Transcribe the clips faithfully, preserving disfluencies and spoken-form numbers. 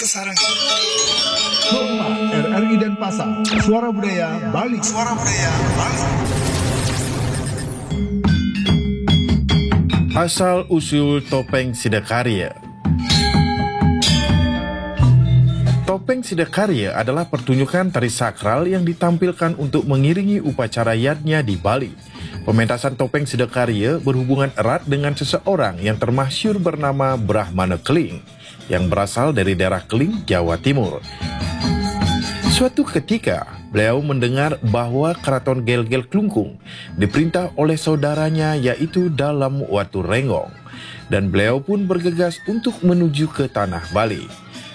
Sarang. Pro empat, R R I Denpasar, Suara Budaya Bali. Suara Budaya Bali. Asal usul topeng Sidakarya. Topeng Sidakarya adalah pertunjukan tari sakral yang ditampilkan untuk mengiringi upacara yadnya di Bali. Pementasan topeng Sidakarya berhubungan erat dengan seseorang yang termasyhur bernama Brahmana Keling, yang berasal dari daerah Keling, Jawa Timur. Suatu ketika, beliau mendengar bahwa Keraton Gelgel Klungkung diperintah oleh saudaranya, yaitu Dalem Watu Renggong, dan beliau pun bergegas untuk menuju ke tanah Bali.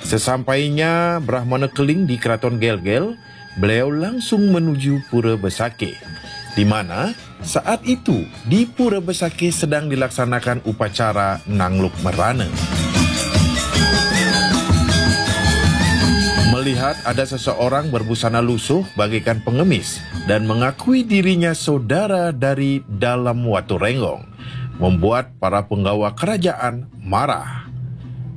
Sesampainya Brahmana Keling di Keraton Gelgel, beliau langsung menuju Pura Besakih, di mana saat itu di Pura Besakih sedang dilaksanakan upacara Nangluk Merana. Melihat ada seseorang berbusana lusuh bagaikan pengemis dan mengakui dirinya saudara dari Dalem Watu Renggong, membuat para penggawa kerajaan marah.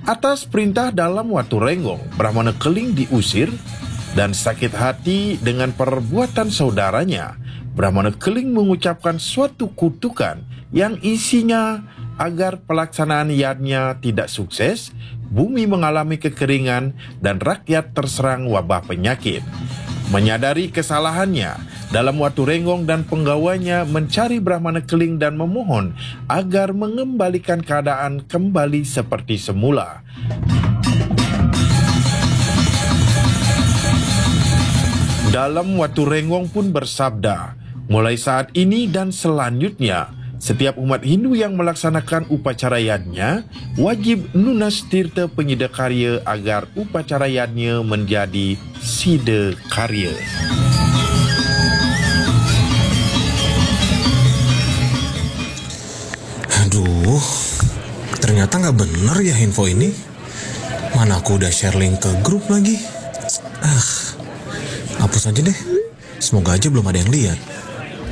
Atas perintah Dalem Watu Renggong, Brahmana Keling diusir dan sakit hati dengan perbuatan saudaranya. Brahmana Keling mengucapkan suatu kutukan yang isinya agar pelaksanaan yadnya tidak sukses, bumi mengalami kekeringan, dan rakyat terserang wabah penyakit. Menyadari kesalahannya, Dalem Watu Renggong dan penggawanya mencari Brahmana Keling dan memohon agar mengembalikan keadaan kembali seperti semula. Dalem Watu Renggong pun bersabda, mulai saat ini dan selanjutnya, setiap umat Hindu yang melaksanakan upacara yadnya wajib nunas tirta penyida karya agar upacara yadnya menjadi sida karya. Aduh, ternyata nggak bener ya info ini. Mana aku udah share link ke grup lagi. Ah, hapus aja deh. Semoga aja belum ada yang lihat.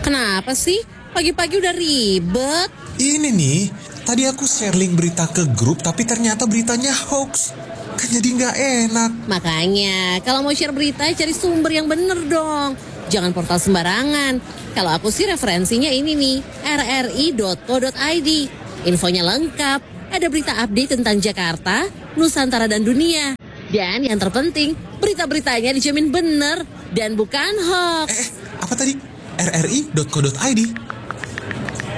Kenapa sih? Pagi-pagi udah ribet. Ini nih, tadi aku share link berita ke grup tapi ternyata beritanya hoax. Kan jadi nggak enak. Makanya, kalau mau share berita, cari sumber yang bener dong. Jangan portal sembarangan. Kalau aku sih referensinya ini nih, R R I dot co dot I D. Infonya lengkap, ada berita update tentang Jakarta, Nusantara dan dunia. Dan yang terpenting, berita-beritanya dijamin bener dan bukan hoax. Eh, apa tadi? R R I dot co dot I D.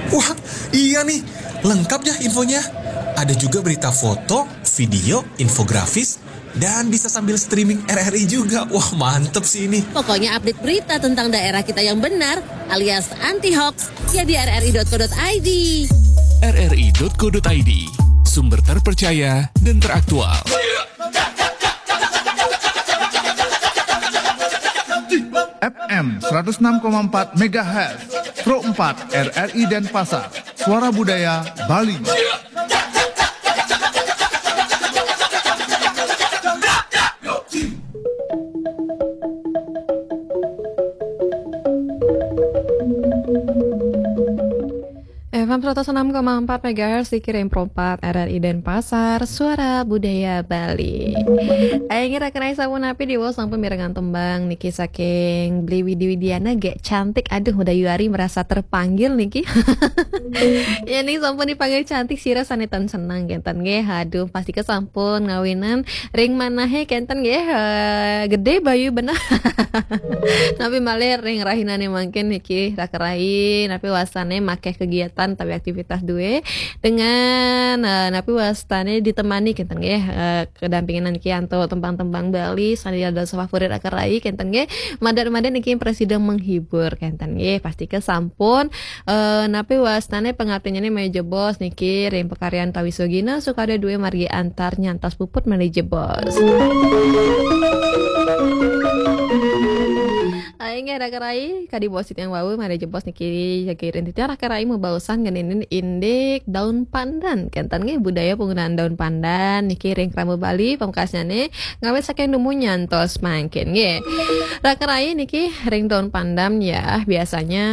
Wah, iya nih, lengkap ya infonya. Ada juga berita foto, video, infografis, dan bisa sambil streaming R R I juga. Wah, mantep sih ini. Pokoknya update berita tentang daerah kita yang benar alias anti hoax ya di R R I dot co dot I D. R R I dot co dot I D, sumber terpercaya dan teraktual. F M seratus enam koma empat megahertz, Pro empat R R I Denpasar, Suara Budaya Bali. F M seratus enam koma empat megahertz dikirim Pro empat R R I Denpasar, Suara Budaya Bali. Ayo ngira kenai sampun api di wall sampun mirengan tembang niki saking Beli Widi Widiana gak cantik. Aduh, udah Yuari merasa terpanggil niki. Ya nih sampun dipanggil cantik sira sanetan senang kenten nggih. Aduh, pasti kesampun ngawinan ring manahe kenten nggih. Eh, gede bayu bener. Tapi malir ring rahinane mangkin niki rakerai, tapi wasane makeh kegiatan tapi aktivitas duwe dengan eh, napi wastane ditemani kenten nggih eh, kedampingan niki anto tembang-tembang Bali sane ada favorit rakerai kenten nggih. Madat-madat niki presiden menghibur kenten nggih. Pasti kesampun eh, napi wastane pengabdian ini meja bos niki ring pekaryan tawi sugina sukada duwe margi antar nyantas puput manaje bos. Inggih, Raka Rai, kadi bos titiang wau, mari jebos niki jagi ring titiang Raka Rai mabaosan ngeninin indik daun pandan. Kenten nggih budaya penggunaan daun pandan niki ring krama Bali, pamekasnyané ngawit saking dumun nyantos mangkin nggih. Raka Rai, niki ring daun pandan ya, biasanya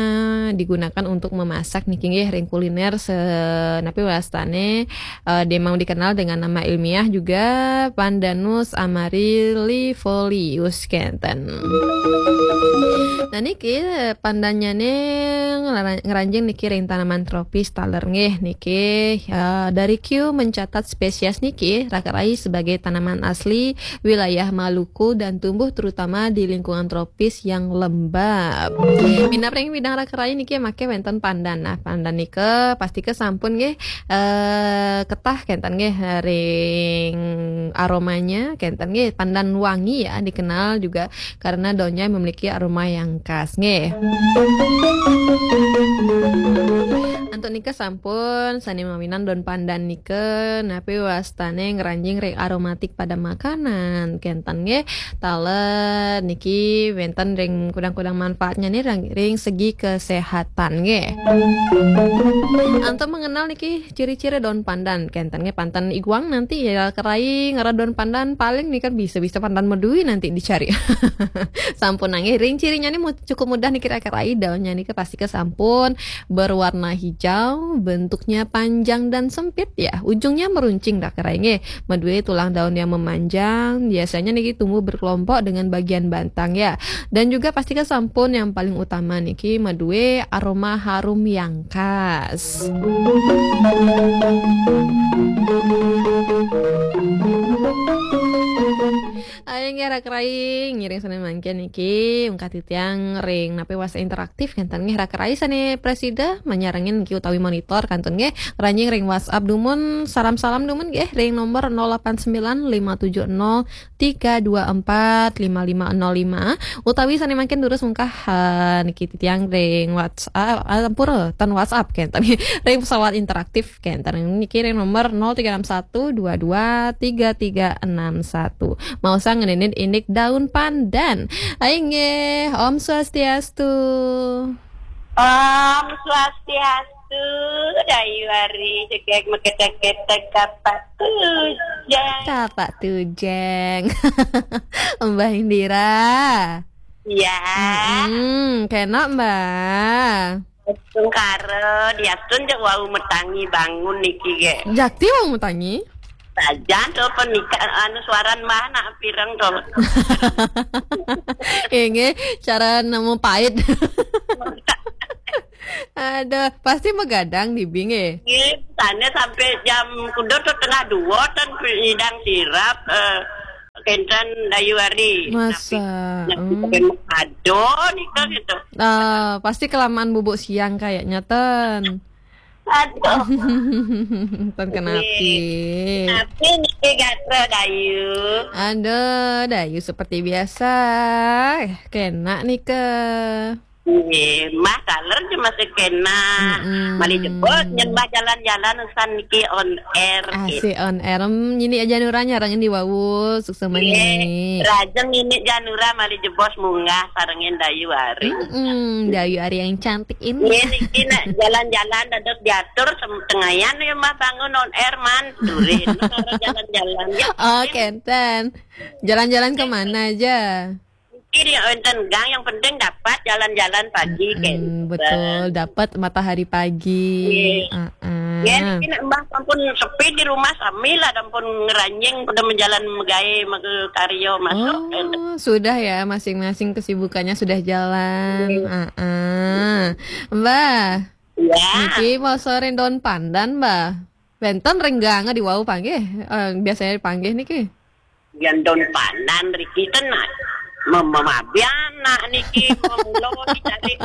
digunakan untuk memasak niki nggih ring kuliner se-, napi wastané, eh, dia memang dikenal dengan nama ilmiah juga Pandanus amaryllifolius kenten. Nah niki, eh, pandannyané ngera-, ngranjing niki ring tanaman tropis taler nggih niki, eh, dari Kew mencatat spesies niki Raka Rai sebagai tanaman asli wilayah Maluku dan tumbuh terutama di lingkungan tropis yang lembab. Minab ring bidang Raka Rai niki maké wénten pandan. Nah, pandan nika pastika sampun nggih, eh, ketah kenten nggih ring aromanya kenten nggih, pandan wangi ya, dikenal juga karena daunnya memiliki aroma yang khas nggih. Antuk nika sampun sané mawinan daun pandan nika napi wastané ngranjing ring aromatik pada makanan kenten nggih. Taler niki wénten ring kudang-kudang manfaatnyané ring, ring segi kesehatan nggih. Antuk mengenal niki ciri-ciri daun pandan kenten nggih, panten iguang nanti ya Raka Rai ngerah daun pandan, paling nika bisa-bisa pandan medui nanti dicari. Sampun nggih, ring cirinya nih mu-, cukup mudah niki Raka Rai, daunnya niki pastika sampun berwarna hijau, bentuknya panjang dan sempit ya, ujungnya meruncing Raka Rai nggih. Madué tulang daun yang memanjang, biasanya niki tumbuh berkelompok dengan bagian batang ya. Dan juga pastika sampun yang paling utama niki madué aroma harum yang khas. Ayo nggih Raka Rai, ngiring sané mangkin niki, ungkah titiang ring napi wasta interaktif kenten nggih Raka Rai sané presida manyarengin niki utawi monitor kantun nggih, ngranjing ring WhatsApp dumun, salam-salam dumun nggih ring nomor nol delapan sembilan lima tujuh nol tiga dua empat lima lima nol lima, utawi sané mangkin durus ungkah, eh, niki titiang ring WhatsApp, ah, ampura, ten WhatsApp kenten nggih, ring pesawat interaktif kenten niki ring nomor nol tiga enam satu dua dua tiga tiga enam satu. Maosang ngeninin indik daun pandan. Inggih, Om Swastiastu. Om Swastiastu, Dayu Ari, jegég maketek-ketek Kapak Tujang. Kapak Tujang. Mbah Indira. Iya. Mm-mm, kena, Mbah. Tungkara, diastun jak wau matangi bangun niki gé. Jakti wau matangi? Sajan to penika anu suaran Mbah nak pireng to. Inggih, cara nemu pait. Aduh, pasti magadang di bing eh. Nggih, sané sampai jam kuda to tengah dua ten nyidang sirap, eh, kenten Dayu Ari. Masa? Tapi, tapi Hmm. Aduh, nika gitu. Ah, pasti kelamaan bubuk siang kayaknya ten. Aduh. Ten kenapi. Tapi niki gatra Dayu. Aduh, Dayu seperti biasa. Eh, kena nika. Nggih, Mbah taler je masih kena. Mm-mm. Malih jebos nyembah jalan-jalan usan niki on air. Asik on air. Em, nyini aja Nura nyarengin di wau, suksma Nggih, nini. Rajeng nini Janura malih jebos munggah sarengin Dayu Ari. Mm-mm, Dayu Ari yang cantik ini. Nggih, niki nak jalan-jalan dados diatur sem-, tengayan ya Mbah bangun on air man. Durin, jalan-jalan ya. Oh, kenten. Jalan-jalan kemana aja? Niki ya wénten gang, yang penting dapat jalan-jalan pagi. Mm-mm, kenten. Betul, dapat matahari pagi. Nggih. Heeh. Ya, niki nak Mbah sampun sepi di rumah sami lah, sampun ngranjing pada menjalan megaé, mega karya masuk. Oh, sudah ya, masing-masing kesibukannya sudah jalan. Nggih. Heeh. Mbah, Ya. Niki mau sore daun pandan, Mbah. Wénten ring gang di wau panggih. Eh, biasanya dipanggih niki. Yan daun pandan riki ten, nah. Mem-, memabian nak niki, memula dicari.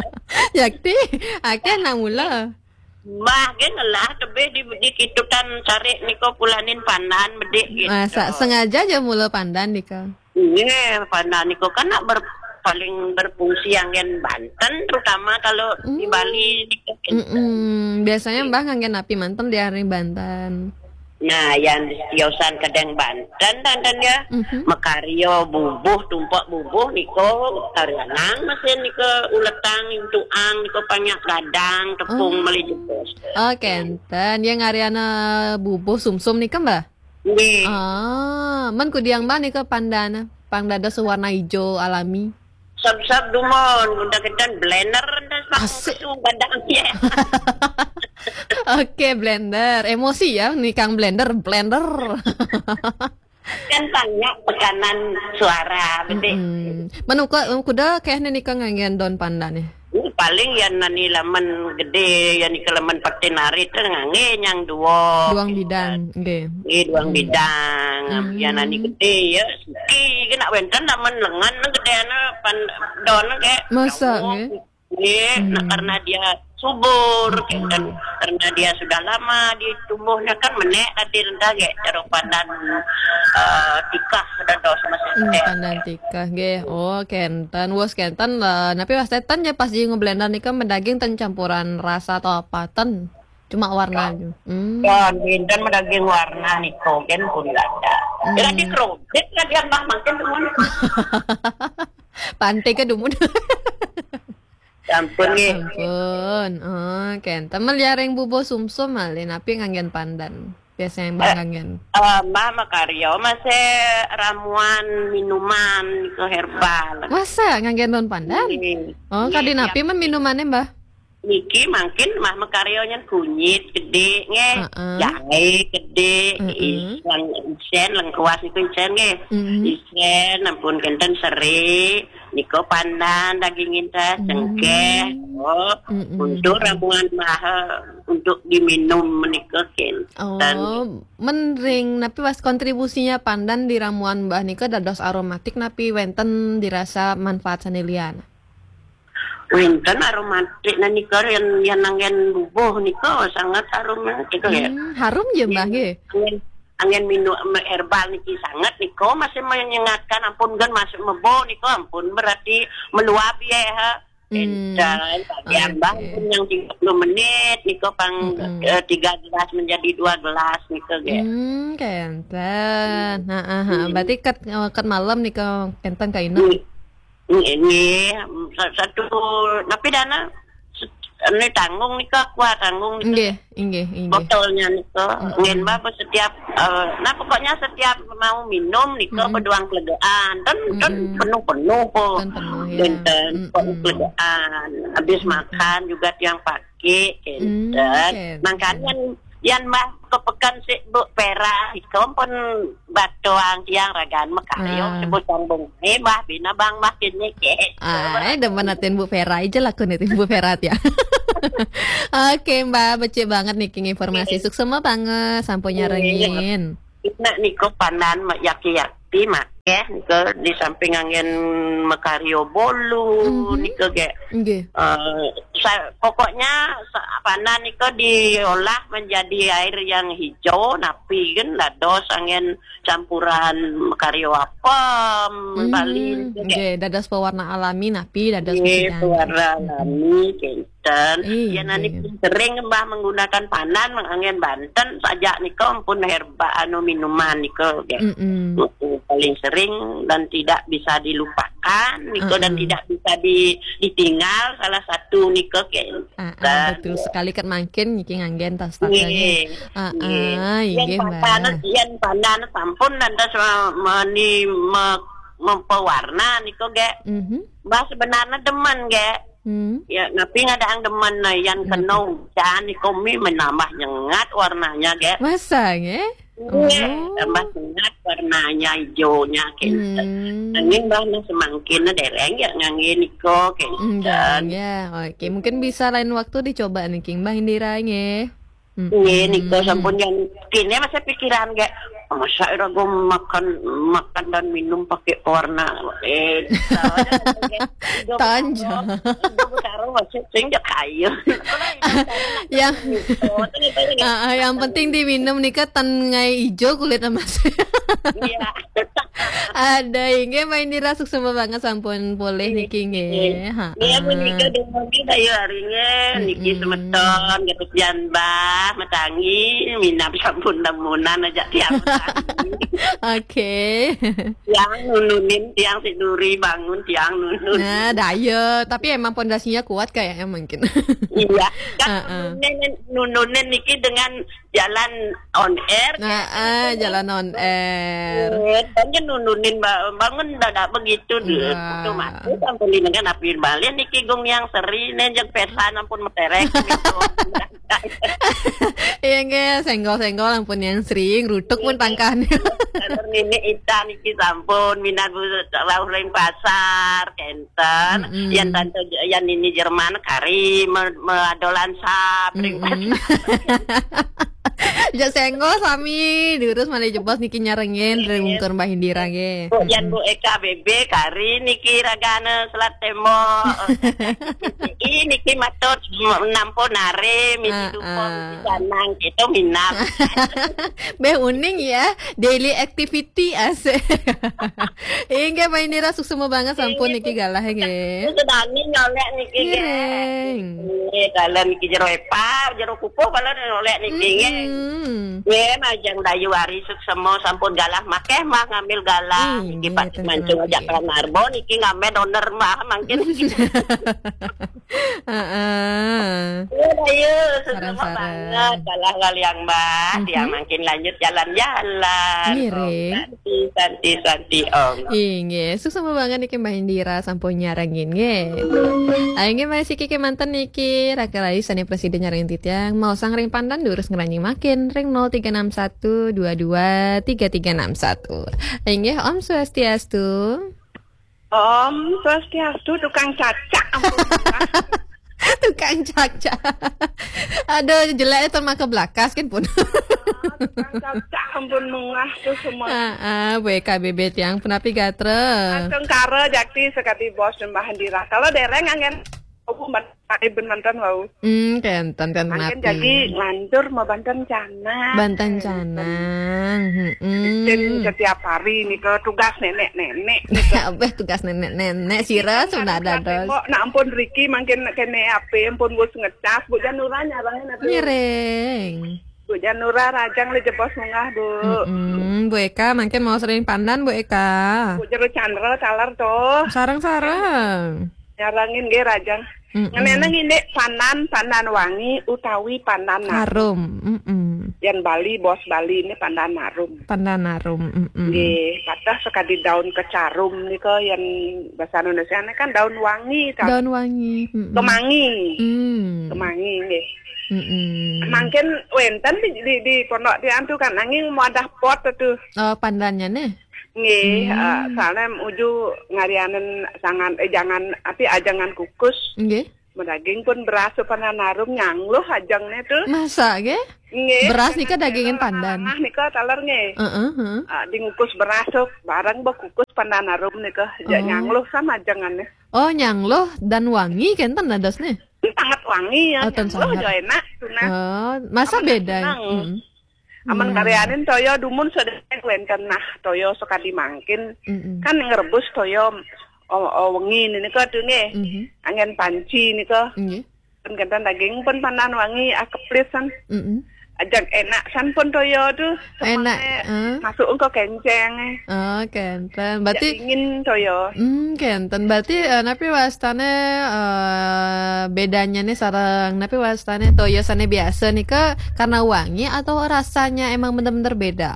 Yakti, akeh nak mula. Mbah gé ngelah tebih di, di kitutan cari nika pulanin pandan bedik gitu. Masa sengaja aja mula pandan nika? Nggih, pandan nika kan nak ber-, paling berfungsi anggén banten, terutama kalau di Hmm. Bali nika. Mm-mm. Biasanya Mbah nganggén napi manten di ari banten? Nah, yan tiosan kedeng Banten, Banten ya. Mhm. Makaryo bubuh, tumpok bubuh, niko karyanang mesin niko uletang, intuang, niko panyak gadang, tepung, oh, meli jebos. Oh, kenten. Yang ngaryana bubuh sumsum nika, Mbah? Nggih. Ah, men kudiang, Mbah, nika pandana. Pang dados warna ijo alami. Sab-sab dumun, udah kenten blender, ndas pakai asik. Kesu gadang ya. Oke, blender. Emosi ya, nikang blender, blender. Kan banyak tekanan suara, betul. Mm-mm. Men uka, kuda kehne nika nganggen don pandan nih. Ini paling ya nani lamen gede, ya nika lamen patin arit ngangge nyang duo. Duang bidang, nggih. Nggih, duang bidang. Hmm. Ya nani gede ya, siki kena wenten lamen lengan gede ana pan don ke. Masa, nggih? Nggih, nah, hmm, karena dia subur, hmm, kan. Karena dia sudah lama ditumbuhnya kan menek tadi rendah ge, cara pandan, eh, tikah dados masih. Hmm, menek. Pandan tikah, nggih. Oh, kenten, wos kenten lah. Napi wasteten ya pas di ngeblender nika medaging ten campuran rasa atau apa ten? Cuma warna aja. Hmm. Ya, dinten medaging warna niko gen pun ada. Hmm. Kira di kredit lah dia, Mbah, makin temen. Pantai ke dumun. Ampun, nggih. Ampun. Oh, kenten. Meliaring bubuh sumsum malih, napi nganggen pandan? Biasanya, Mbah, eh, nganggen. Eh, Mbah makaryo masih ramuan minuman ke herbal. Masa nganggen daun pandan? Nggih. Oh, nggih, kadi napi men minumannya, Mbah? Niki mangkin Mbah makaryo nyen kunyit gede nggih. Heeh. Jahe gede, heeh, iseng, isen, lengkuas niku isen nggih. Mm-mm. Isen, ampun kenten seri. Niko pandan daging intes, hmm, cengkeh, oh, mm-mm, untuk ramuan Mbah, untuk diminum menika kenten. Oh, men ring napi was kontribusinya pandan di ramuan Mbah nika dados aromatik napi wenten dirasa manfaat sane lian? Wenten aromatik nah nika yang, yang nanggen bubuh nika sangat aromatik ya. Hmm, harum ya, Mbah, nggih? Angin, angin minum herbal niki sangat niko masih menyengatkan, ampun gen masuk mebo niko ampun berarti meluap ya, ha. Hmm. Entan, bagian, oke, Mbah pun yang tiga puluh menit niko pang, mm-mm, eh, tiga gelas menjadi dua gelas niko ge. Hmm, kenten. Hmm. Ha, ha, ha. Hmm. Berarti ket, eh, ket malam niko kenten ka ina. Hmm. Ini sa-, satu napi dana se-, ini tanggung nika, kuah tanggung nika. Nggih, nggih, nggih. Botolnya nika. Mm-mm. Ngen Mbah setiap, eh, nah pokoknya setiap mau minum nika, mm-mm, beduang kelegaan. Dan, dan, mm-mm, penuh-penuh kok. Kan penuh ya. Dinten, mm-mm, kok kelegaan. Habis, mm-mm, makan juga tiang pakai, mm, kenten. Kenten. Makanya yan Mbah kepekan si Bu Pera, iko pun batuang tiang ragan mekayo, ah, sebut sambung. Eh, Mbah, bina bang Mbah kini ke. Ah, eh, demen atin Bu Pera, ija laku nih, Bu Pera ya. Oke, Mbah, becik banget nih, King, informasi. Iya. Suksema banget, sampun, iya, nyarengin. Ina niko pandan mak yaki-yaki mak. Ya, niko di samping angin mekario bolu, mhm, niko ge. Nggih. Eh, sa-, pokoknya sa-, pandan niko diolah menjadi air yang hijau, napi kan dados angin campuran mekario apem, hmm, Bali, nggih, dados pewarna alami, napi dados, nggih, pewarna alami, kenten. Iya, ya, nani, nggih, sering Mbah menggunakan pandan, mengangin Banten, sajak niko ampun herba anu minuman niko, nggih. Mm-mm. Paling sering dan tidak bisa dilupakan niko, dan, uh-uh, tidak bisa di-, ditinggal salah satu niko, kenten. Ah, ah, betul sekali, kan mangkin niki nganggen tas, nggih, nggih. Ah, nggih. Ah, yang nggih, Mbah. Pandan, yang pandan sampun dan tas me-, meni-, me-, mempewarna niko, ge. Mhm. Mbah sebenarnya demen, ge. Hmm. Ya, napi ngadang demen nah, yang, hmm, kena hujan niko mi menambah nyengat warnanya, ge. Masa, nggih? Iya, oh, tambah sehat warnanya, hijaunya, gitu. Hmm. Angin Mbah nah semangkin dereng ya ngangge niko, gitu. Hmm, dereng ya. Oke, mungkin bisa lain waktu dicoba nih, King, Mbah Indira, nggih. Hmm. Nggih, niko sampun yang kini masih pikiran, gak Masa ira go makan, makan dan minum pakai pewarna. Eh, Tonjo. Ijo butaro masuk sing jak kayu. Yang Ah, ah, yang penting diminum nika tan ngai ijo kulit emas. Iya. Ada inggih Mbak Indira, suksma banget sampun polih niki nggih. Ha. Iya, Bu Nika, dumugi dayu aringe niki semeton, Gatut Pian Bah, Matangi, minab sampun demunan aja tiang. Oke. Tiang nununin, tiang si duri bangun, tiang nunun. Nah, dayu, tapi emang pondasinya kuat kayaknya mungkin. Iya, kan Heeh. nununin, nununin niki dengan jalan on air. Nah, ah, jalan on air. Eh, kan nununin ba- bangun dadak begitu deh. Wah. Itu mati sampun dengan api balik niki gung yang seri nih jeung pesan ampun meterek gitu. Iya nggih, senggol-senggol ampun yang sering, rutuk pun tangkahnya. Kalau nini Ita niki sampun minat bu rauh ring pasar kenten. Mm-mm. Yang tante yang nini Jerman kari me- meadolan sap ring Mm-mm. pasar. Ya senggol sami, diurus malih jebos niki nyarengin dari mungkur Mbah Indira nggih. Bu, yang Bu Eka B B kari niki ragane selat temo. Ini niki matur nampo nare misi Ah, dupo ah. misi sanang gitu minat. Beh uning ya, daily activity asik. Inggih Mbah Indira, suksma banget sampun niki galah nggih. Sedani nyolek niki nggih. Ngiring. Nggih, dalan niki jero epa, jero kupuh kalau nyolek niki nggih. Mm-mm. Nggih, majeng dayu ari suksma sampun galah makeh mah ngambil galah. Ih, Niki nggih, Pak ten Mancung tenang, ajak nggih. Panarbo niki ngambil owner mah mangkin. Heeh. Iya, dayu, suksma Sareng-sareng. banget. Galah kaliang Mbah, Mhm. tiang mangkin lanjut jalan-jalan. Ngiring. Om Santi, Santi, Santi, Om. Inggih, suksma banget niki Mbah Indira sampun nyarengin nggih. Ayo nggih masih kiki manten niki Raka Rayu sane presiden nyarengin titiang mau sang ring pandan durus ngeranyi makin ring nol tiga enam satu dua dua tiga tiga enam satu. Ayo nggih Om Swastiastu. Om Swastiastu, tukang cacak ampun mungah. Tukang cacak. Aduh, jelek itu maka belakas kan pun. Tukang cacak ampun mungah tuh semua. Ah, ah, Bu Eka B B tiang punapi gatra. Tengkara jakti sekati bos Mbah Indira. Kalau dereng anggen aku mantap ben mantan wau. Hmm, kenten kan Anggen punapi. Jadi nganjur mau banten canang. Banten canang. Rutin Hmm. Setiap hari nih ke tugas nenek-nenek. Abeh tugas nenek-nenek sira sudah dados. Kok nak ampun Riki mangkin kene ape ampun wis ngecas Bu Janura nyarengin atuh. Ngiring. Bu Janura rajang le jebos mungah Bu. Mm-mm. Bu Eka mangkin mau sering pandan Bu Eka. Bu Jero Chandra taler tuh. Sareng-sareng. Nyarengin nggih rajang. Mm-mm. Ngeneneng indik pandan, pandan wangi utawi pandan harum. Harum. Mm-mm. Yang Bali, bos Bali ini pandan harum. Pandan harum. Mm-mm. Nggih, patah sekadi daun kecarum nika yang bahasa Indonesia ini kan daun wangi kan. Daun wangi. Mm-mm. Kemangi. Hmm. Kemangi nggih. Mm-mm. Mangkin wenten di, di, di pondok tiang tuh kan nanging muadah pot tuh. Oh, pandannya nih. Nggih, Hmm. eh, soalnya uju ngarianen sangan eh jangan api ajangan kukus. Nggih. Medaging pun beras pandan harum nyangluh ajangne tuh. Masa nggih? Nggih. Beras nika dagingin pandan. Nah, nika taler nggih. Heeh, heeh. Ah, dingukus beras tuh bareng bekukus pandan harum nika. Ya Oh. nyangluh sama ajangannya. Oh, nyangluh dan wangi kenten dados nih. Sangat wangi ya, Oh, ten nyangluh sangat. Jo enak tuh nah. Oh, masa Aman beda. seneng. Mm. Aman Hmm. karyanin toyo dumun sedeng wenten nah toyo sekadi mangkin. Mm-mm. Kan ngerebus toyo oh, oh, wengi nika tuh nggih. Mhm. Anggen panci nika. Nggih. Pun kenten daging pun pandan wangi ah keplis san. Mm-mm. Ajak enak san pun toyo tuh. Enak, Semangat eh. Masuk engko kenceng eh. Oh, kenten. Ajak Berarti dingin toyo. Hmm, kenten. Berarti eh, napi wastane eh, bedanya nih sareng napi wastane toyo sane biasa nih ke karena wangi atau rasanya emang bener-bener beda?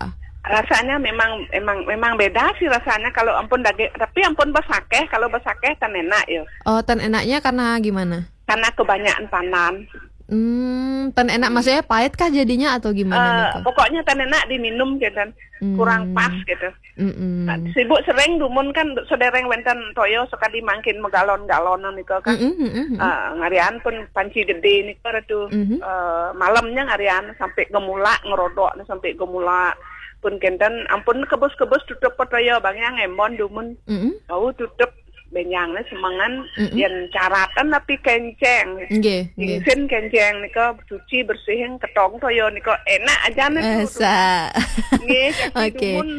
Rasanya memang emang memang beda sih rasanya kalau ampun daging, tapi ampun besakeh, kalau besakeh kan enak ya. Oh, ten enaknya karena gimana? Karena kebanyakan pandan. Hmm, ten enak maksudnya pahit kah jadinya atau gimana Eh, nih? Kak? Pokoknya kan enak diminum gitu. Hmm. Kurang pas gitu. Mm-mm. Nah, sibuk sering dumun kan sedereng wenten toyo sekadi mangkin megalon-galonan nika kan. Mm-mm, mm-mm. Ah, ngarian pun panci gede nika tuh. Mhm. Eh, malamnya ngarian sampai gemulak ngerodok sampai gemulak. Pun kenten, ampun kebus-kebus tutup po toyo bang yang embon dumun. Mm-mm. Bau tutup benyangne semengan Mm-mm. yen caratan tapi kenceng. Nggih, nggih. Isin kenceng nika cuci bersihin ketong toyo nika enak aja nih Eh, tuh. sa. Nggih, jadi Oke. dumun.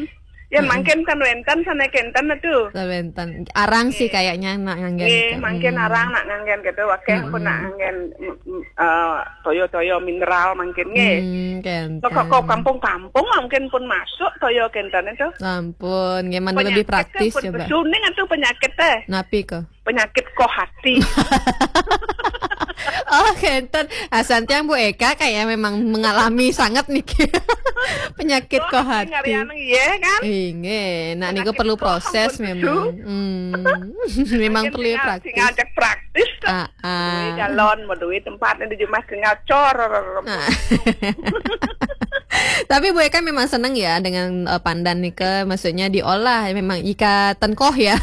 Yen Mm-mm. mangkin kan wenten sana kenten tuh. Wenten. Arang sih kayaknya nak nganggen. Nggih, Kak. mangkin Mm. Arang nak nganggen gitu. Wakeh pun nak Mm-mm. nganggen mm, mm, eh, toyo-toyo mineral mangkin nggih. Hmm, kenten. Kok kok kampung-kampung mungkin pun masuk toyo kenten itu. Ampun, nggih, mana lebih Penyakit praktis pun coba. Besuning itu penyakit teh. Napi ko? Penyakit koh hati. Oh, kenten. Asan tiang Bu Eka kayak memang mengalami sangat nih penyakit koh hati. Ngarian iya kan? Inggih, nah niku Penyakit perlu koh proses ampun memang. besu. Hmm. Memang Mungkin perlu tinggal- praktis. Tinggal cek praktis tuh. Ah, ah. Duwe galon, mau duwe tempat di rumah tinggal cor. Nah. Tapi Bu Eka memang seneng ya dengan eh, pandan nika, maksudnya diolah memang ika ten koh ya.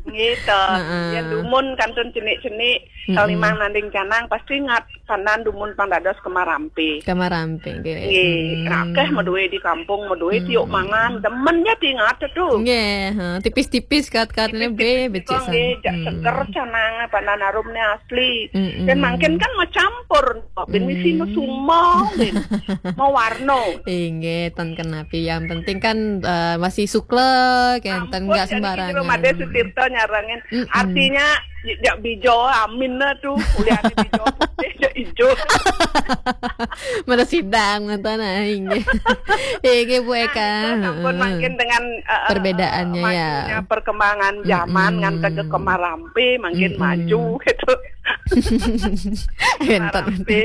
Gitu. Heeh. Ya dumun kantun cenik-cenik. Mm-mm. Kalau memang nanding canang pasti ngat pandan dumun pang dados kemarampe. Kemarampe nggih. Nggih, Hmm. akeh meduwe di kampung, meduwe tiuk mangan, demen ya tingat tuh. Nggih, ha, tipis-tipis kat-katnya be becik Nggih, jak san. Seger canang pandan harumnya asli. Mm-mm. Dan mangkin kan mau campur, bin misi Mm. mau sumo, bin mau warno. Inggih, ten kenapi. Yang penting kan eh, masih sukle, kenten Ampun, nggak jadi sembarangan. Kidul Made Sutirta nyarangin. Mm-mm. Artinya jak bijo amin tuh, kuliahnya bijo putih, jak ijo. Mana sidang nonton ah, inggih. Inggih Bu Eka. Nah, itu sampun Heeh. Mangkin dengan eh, eh, Perbedaannya, ya. Majunya perkembangan zaman Mm-mm. nganti ke Kemarampe mangkin Mm-mm. maju gitu. Entar Kemarampe.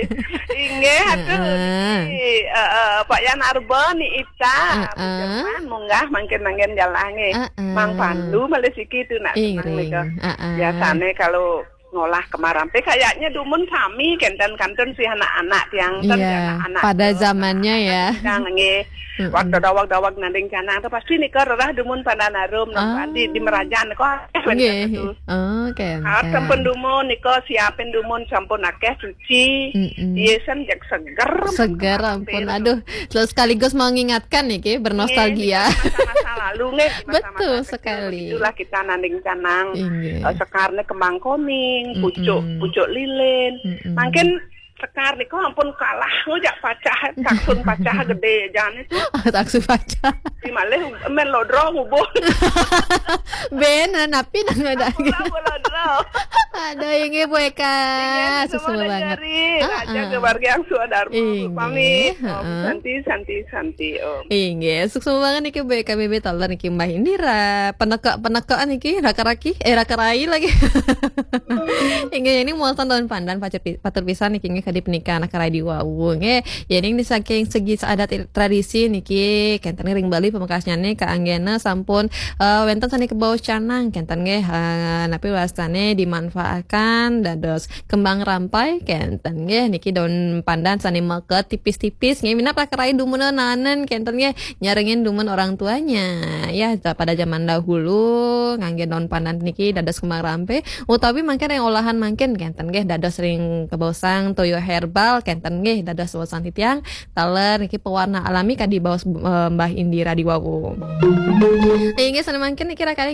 Inggih, aduh. Heeh. Niki, eh, eh, Pak Yan Arba ni Ica. Heeh. Bujangan munggah mangkin-mangkin jalange. Heeh. Mang Pandu malih siki tu nak Ing seneng ring. nika. Heeh. Biasane kalau ngolah Kemarampe kayaknya dumun sami kenten kantun si anak-anak tiang ten Iya, anak-anak pada tu. Zamannya ya. Kang nggih. Mm-mm. Waktu dawag-dawag nanding canang tu pasti nika rerah dumun pandan harum. Ah. Di di Merajan kok akeh Nggih. tu. Oh, kenten. Ah, sampun dumun nika siapin dumun sampun akeh cuci. Mm-mm. Iya san jak seger. Seger ampun. Aduh, terus sekaligus mau ngingatkan nih ki, bernostalgia. Nggih, di masa-masa lalu nggih, di masa-masa Betul kecil sekali. Itulah kita nanding canang. Inggih. Eh, sekar nih kembang kuning, Mm-mm. pucuk, pucuk lilin. Mm-mm. Mangkin sekar niku ampun kalah ngujak pacah, taksun pacah gede jane tu. Taksu baca. Di malih men lodro ngubuh. Ben, napi nang ada. Ampun lah, lodro. Aduh, inggih Bu Eka. Suksma banget. Dari Ah, Raja ah. Keluarga yang sudah Dharma. Inggih, Pamit. Om heeh. Santi, Santi, Santi, Om. Inggih, suksma banget niki Bu Eka B B Taler niki Mbah Indira. Peneka-penekaan niki raka-raki, eh raka-rai lagi. Inggih, ini muatan daun pandan patur pi- patur pisan niki nggih kadi punika anak rai di wau nggih. Yen ing saking segi adat tradisi niki kenten ring Bali pamekasnyane kaanggena sampun eh, wenten sane kebaos canang kenten nggih eh, napi wastane dimanfaatkan dados kembang rampai kenten nggih niki daun pandan sane meket tipis-tipis nggih minab raka-rai dumun nanen kenten nggih nyarengin dumun orang tuanya ya pada zaman dahulu ngangge daun pandan niki dados kembang rampai utawi mangkin yang olahan mangkin kenten nggih dados ring kebaosang toyo herbal kenten nggih dados waosan titiang taler niki pewarna alami kadi baos eh, Mbah Indira di wau. Inggih sane mangkin niki raka-rai